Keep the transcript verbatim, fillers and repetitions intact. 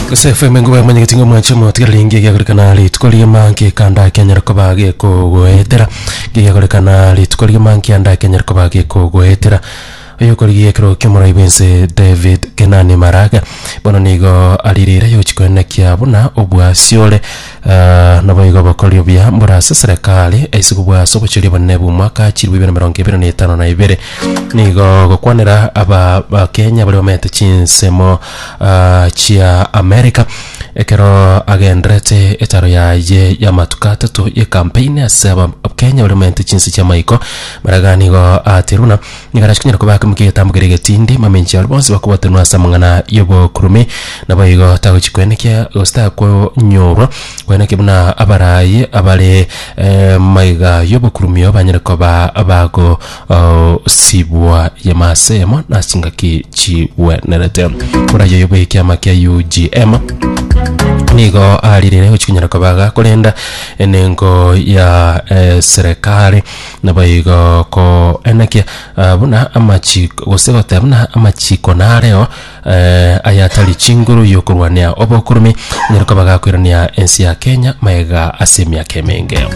Gose F M nguba manyegeti ng'a mwanche motigereri ngi egiakorekana rituko rigima nkekanda kianyara koba gekogoetera, ngegiakorekana rituko rigima nkianda kianyara koba gekogoetera. Oyokorigia ekero kiomorai bwense David Kenani Maraga bono nigo aririre yochi koenekia buna obwasi ore uh, naboigo bokorio buya mbora ase serikali aise kobwasa obochori obonene bwa omwaka chiribu ibere na mirongo ibere na etano na ibere. Nigo gokwanera aba bakenya baria bamaete chinsemo uh, chia America ekero agenderete etaro yaye y'amatuko atato y'ecampaign ase aba Kenya baria bamaete chinse chia maiko. Maraga nigo aterwa buna nigo arachikonyara koba akemokia egetambo keria getindi mamenchi aria bonsi bakobwatanwa ase amang'ana y'obokurumi. Naboigo tagochi kwenekia gose takonyorwa kwenekia buna abarayi abare eh, maiga y'obokurumi banyare koba bago oh, sibwa yemasemo na chingaki chigwenerete. Korayo yobo ekiama kia U G M nigo aririre gochikonyara koba gakorenda enengo ya eh, serikali. Naboigo koenekia ah, buna amachiko gose goteba buna amachiko nareo eh, ayatari chinguru yokorwania obokurumi nyara koba gakoirania ensi ya Kenya maega ase emiaka emenge.